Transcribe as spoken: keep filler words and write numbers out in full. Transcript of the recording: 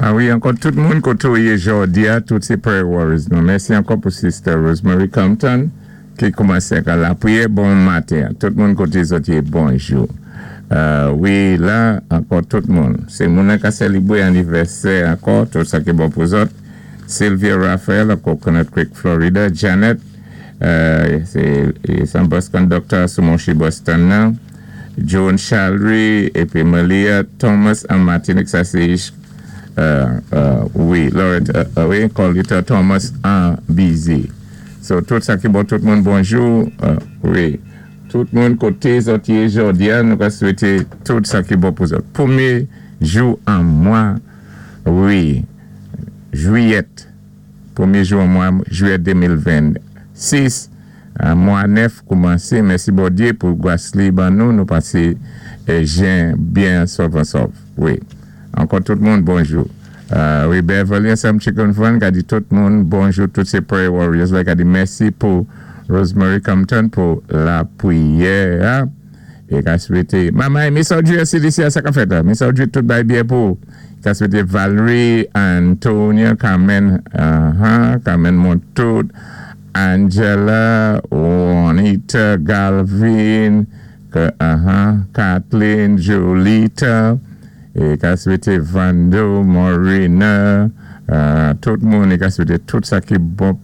A wi, ankò tout moun koté ou yé jòdi-a, tout sé prayer warriors nou. Mèsi ankò pou Sister Rosemary Compton ki koumansé ak lapriyè bon maten. Tout moun koté zòt yé bonjou. Euh, wi, la, ankò tout moun. Sé moun ka sélébwé anivèsè ankò, tout sa ki bon pou zòt. Sylvia Raphael a Coconut Creek, Florida. Janet, euh, sé sé bus conductor sou Monchy Boston nan. Joan Chalry, épi Malia Thomas an Martinique, sa sé euh, euh, wi, Laurent, euh, euh, wi, Colita Thomas an Busy. So, tout sa ki bon, tout moun bonjou, euh, wi. Tout moun koté zòt yé jòdi-a, nou ka swété tout sa ki bon pou zòt. Pwémyé jou an mwa, wi, jwiyèt, pwémyé jou an mwa, jwiyèt de mil venn-sis, an mwa nèf koumansé, mèsi Bondyé pou gwas li ban nou, nou pasé eh, jen byen sòf an sòf, wi. Ankò tout moun bonjou. Euh, wi, Beverly ansanm Chicken Fun, ka di tout moun bonjou, tout sé prayer warriors, la ka di mèsi pou Rosemary Compton pou lapriyè. É ka swété, Mama, Miss Audrey, C D C, sa ka fèt la? Miss Audrey, tout bay byen pou. Ka swété Valerie, Antonia, Carmen, uh-huh, Carmen Montout, Angela, Juanita, Galvin, que, uh-huh, Kathleen, Jolita, é ka swété Vando, Morena, euh, tout moun, é ka swété tout sa ki bon.